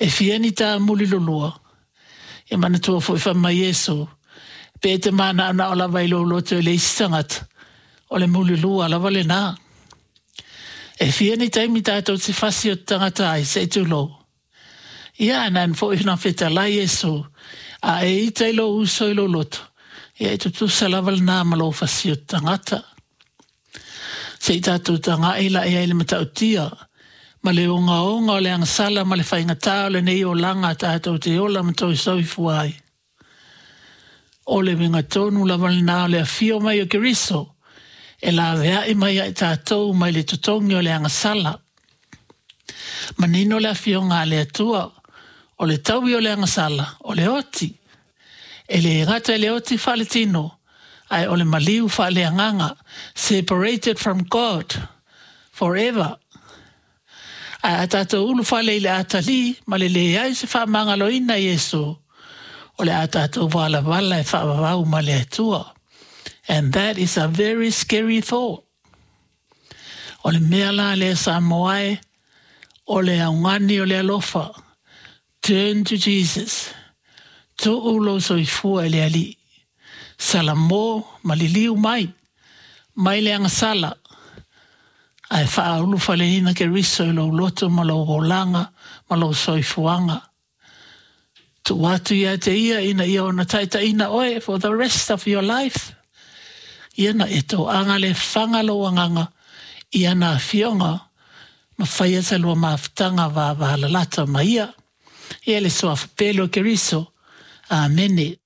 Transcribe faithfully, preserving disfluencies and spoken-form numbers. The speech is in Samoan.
E fia ni tāmuli lolua, e manatua foi fai mai Iesu, pe e te manaonao lava i lou loto i le isi tagata, o le mulilua lava lenā. E fia ni taimi tātou te fasi o te tagata ai, se i tulou. Ia, na foi na fetalai Iesu, a e ita i lou uso i lou loto, ia e tutusa lava lenā ma lou fasi o te tagata. Se i tātou taga'i la e ai le matautia, ma le ogaoga o le agasala ma le faigata o lenei olaga tātou te ola ma toe soifua ai. O le uiga tonu lava lenā o le afio mai o Keriso, e laveai mai ai tātou mai le totogi o le agasala. Manino le afioga a le Atua, o le taui o le agasala, o le oti. E le gata i le oti faaletino, ae o le maliu faaleagaga, separated from God forever. Ae a tātou ulufale i le atalii ma le leai se faamagaloina i Iesu, o le a tātou valavala e faavavau ma le Atua. And that is a very scary thought. O le mea la lea Samoa e, o le augani o le alofa. Turn to Jesus. Tuu lou soifua i le Alii. Salamo ma liliu mai. Mai le agasala. Ae faaulufaleina Keriso i lou loto ma lou olaga ma lou soifuaga. Tuu atu ia te ia ina ia ona taitaiina oe for the rest of your life. Ia na e toaga le faga lou agaga i ana afioga ma faia sa lua mafutaga vavalalata ma ia. Ia le suafa pele o Keriso. Amene.